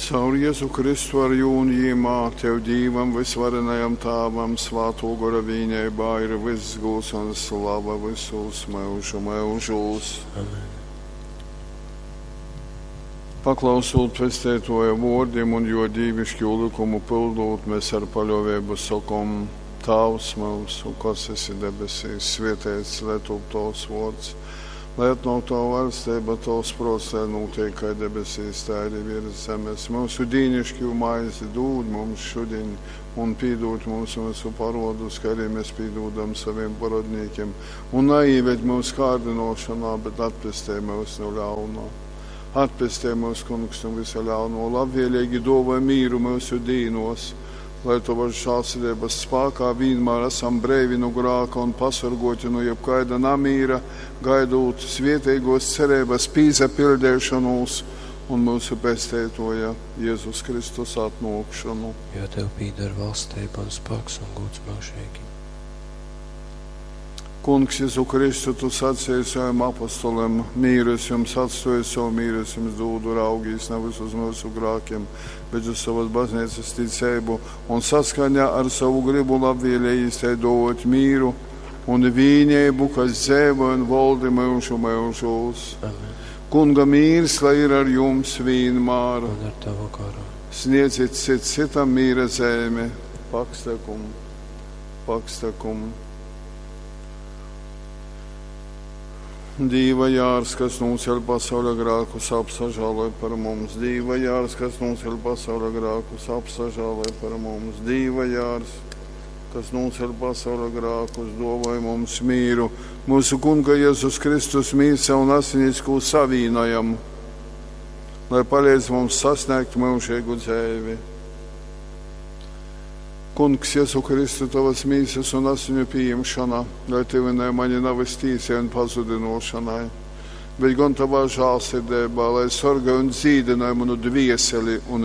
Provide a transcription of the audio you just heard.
Caur Jezu Kristu ar jū un jīmā, Tev Dīvam, vysvarenajam Tāvam, Svātō Gora vīneibā ir vyss gūds un slava vysūs myužu myužūs. Amen. Paklausūt Pesteitōja vōrdim un jō dīviškū lykumu pyldūt, mēs ar paļōveibu sokom: Tāvs myusu, kas esi debesīs, svēteits lai top tovs vōrds, lai atnōk tova vaļsteiba, tovs prōts, lai nūtiek kai debesīs, tā arī virs zemes. Myusu dīnišķū maizi dūd mums šudiņ un pīdūd mums myusu parodus, kā arī mēs pīdūdam saviem parodnīkiem, un naīved mūsu kārdinošanā, bet atpestej mūs no ļaunā. Atpestej mūs, Kungs, no visa ļauno, labvēlīgi dāvāj mīru mūsu dīnos, lai Tavas žēlsirdības spēkā vienmēr esam breivi no grāka un pasargoti no jebkaida namīra, gaidot svētīgos cerības pīzapildēšanos un mūsu pesteitoja Jēzus Kristus atnākšanu. Jo Tev pīder valstība un spēks un gods mūžīgi. Kungs, Jēzu Kristu, Tu sacīji saviem apostoliem, mīru es jums atstāju, savu mīru es jums dūdu, raugīs nevis uz mūsu grākiem, bet uz savas baznīcas ticību un saskaņā ar savu gribu labvēlīgi tai dot mīru un vienību, kas dzīvo un valdi mūžu mūžos. Amen. Kunga mīrs, lai ir ar jums vienmēr. Un ar Tavu garu. Sniedziet cits citam mīra zemi. Pakstakum, pakstakum. Dīva jārs, kas nūceļ pasaules grākus, apsažāloj par mums. Dīva jārs, kas nūceļ pasaules grākus, apsažāloj par mums. Dīva jārs, kas nūceļ pasaules grākus, dāvāj mums mīru. Mūsu Kunga Jēzus Kristus mīsa un asinis, ko savīnojam, lai palīdz mums sasniegt mūžīgu dzīvi. Kungs, Jēzu Kristu, tavas mīsas un asiņu pieņemšana, lai tevinai mani nav tīsai un pazudinošanai, bet gan tavā žēlsirdībā, lai sargāj un dzīdināj manu dvieseli un